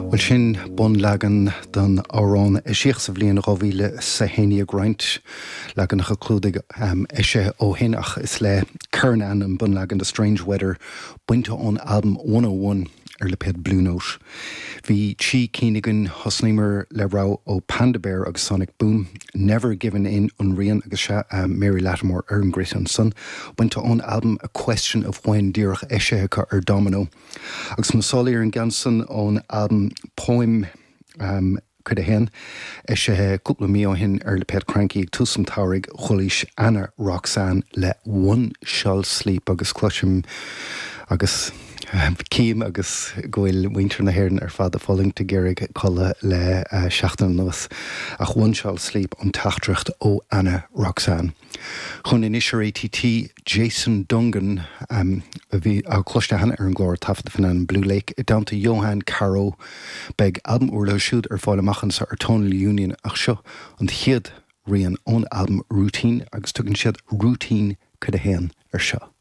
Bhuel sin bunleagan den amhrán a eisíodh sa bhliain 2011, roinnt leaganacha clúdaigh eisithe ó shin ach is le Keren Ann an bunleagan de Strange Weather bainte ón albam One O One ar lipéad Blue Note. Bhí trí cinn againn, thosnaíomar le rogha ó Panda Bear agus Sonic Boom, Never Giving In an rian agus sea, Mary Lattimore ar an gcruit ansan, bainte ón albam A Question of When díreach eisithe acu ar Domino. Agus na sálaí ar an gceann san ón albam Poem Cuid 1, eisithe cúpla mí ó shin ar lipéad Kranky ag tús an tsamhraidh, chualaís Ana Roxanne le One Shall Sleep agus cloisim agus cím agus go bhfuil muintir na hÉireann ar fad ag fulaingt ag iarraidh codladh le seachtain anuas ach One Shall Sleep an teachtaireacht ó Ana Roxanne. Chugainn anois ar ATT, Jason Dungan, a bhí cloiste cheana ar an gclár, taifeadta faoin ainm Blue Lake, i dteannta Johan Caro. Beidh albam úr leo siúd ar fáil amach anseo ar Tonal Union ach seo an chéad rian ón albam Routine agus tugann siad Routine Cuid 1 air seo.